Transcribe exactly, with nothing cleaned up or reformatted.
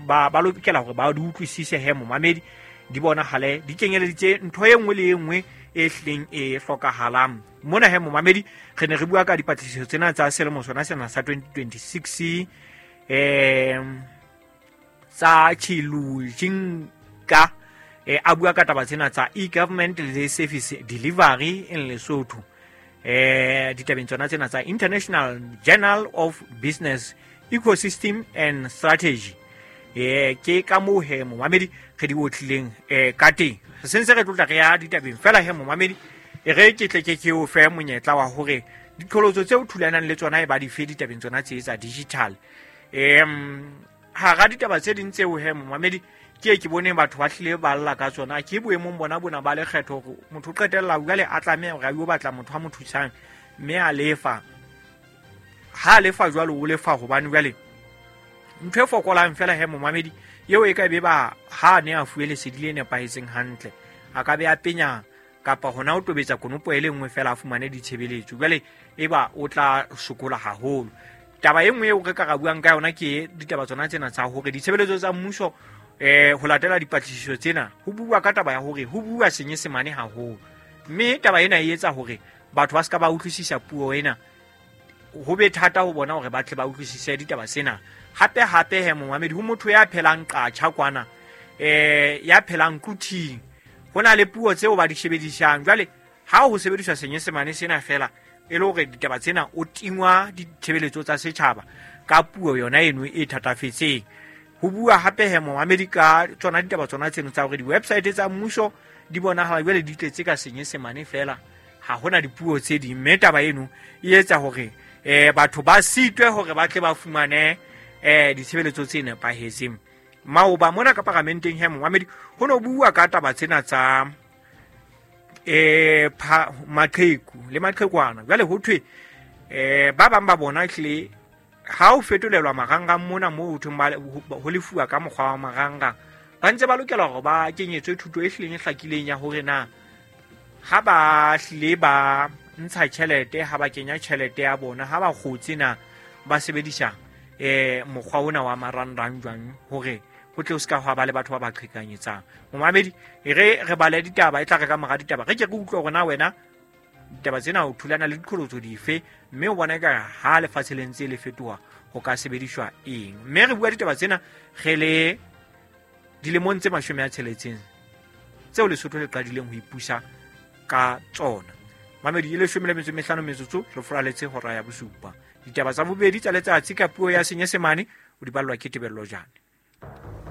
ba ba lokela hore ba di utlwisise he momamedi, di bonahale di kenyeleditse ntho e nngwe le e nngwe e hlileng e hlokahalang mona he momamedi. Re ne re bua ka dipatlisiso tsena tsa selemo sona sena sa twenty twenty-six um tsa Chilujinga, eh, a bua ka taba tsena tsa e-government le service delivery in Lesotho, eh ditabeng tsona tsena tsa International Journal of Business Ecosystem and Strategy. Eh ke ka moo he momamedi re di otlileng eh ka teng. Re sentse re tlotla re ya ditabeng fela he momamedi, e re ke tle ke ke o fe monyetla wa hore diqholotso tseo thulanang le tsona e ba di fe ditabeng tsona tse tsa digital. Em hara ditaba tse ding tseo he momamedi ke ke bone batho ba hlile ba lla ka tsona, ke boemong bona bona ba lekgetho hore motho o qetella jwale a tlameha hore a yo batla motho a mo thusang mme a lefa. Ha a lefa jwalo o lefa hobane jwale ntho e fokolang fela he momamedi eo e ka be ba ha ne a fuwe lesedi le nepahetseng hantle, a ka be a penya kapa hona o tobetsa konopo e le nngwe fela a fumane ditshebeletso, jwale e ba o tla sokola haholo. Taba e nngwe eo re ka ra buang ka yona ke ditaba tsona tsena tsa hore ditshebeletso tsa mmuso eh ho latela dipatlisiso tsena ho bua ka taba ya hore ho bua Senyesemane haholo, mme taba ena e etsa hore batho ba ska ba utlwisisa puo ena, ho be thata ho bona hore ba tle ba utlwisise ditaba tsena. Hape hape he momamedi, ho motho ya phelang qatjha kwana, eh ya phelang Quthing, ho na le puo tseo ba di sebedisang. Jwale ha ho sebediswa Senyesemane sena fela e le hore ditaba tsena o tingwa ditshebeletso tsa setjhaba ka puo yona eno e thatafetseng. Ho bua hape he momamedi ka tsona ditaba tsona tseno tsa hore di-website tsa mmuso di bonahala jwale di tletse ka Senyesemane fela, ha hona dipuo tse ding, mme taba eno e etsa hore eh batho ba sitwe hore ba tle ba fumane eh ditshebeletso tse nepahetseng. Maoba mona ka paramenteng he momamedi ho no bua ka taba tsena tsa eh maqheku le maqhekwana. Jwale ho thwe eh ba bang ba bona hlile ha o fetolelwa marangrang mona moo ho thweng ba ho lefuwa ka mokgwa wa marangrang, ba ntse ba lokela hore ba kenyetswe thuto e hlileng e hlakileng ya hore na ha ba hlile ba ntsha tjhelete, ha ba kenya tjhelete ya bona, ha ba kgotse na ba sebedisa eh mokgwa ona wa marangrang jwang hore ho tle ho ska hwa ba le batho ba ba qhekanyetsang. Momamedi, e re re bale ditaba, e tla re ka mora ditaba re ke re utlwe hore na wena ditaba tsena o thulana le diqholotso dife, mme o bona ka ha lefatshe le ntse le fetoha ho ka sebediswa eng. Mme re bua ditaba tsena re le dilemong tse mashome a tsheletseng tseo Lesotho le qadileng ho ipusa ka tsona. Mamedi, e leshome le metso e mehlano metsotso re furaletse hora ya bosupa. Ditaba tsa bobedi tsa letsatsi ka puo ya Senyesemane o di ballwa ke Tebello Jane.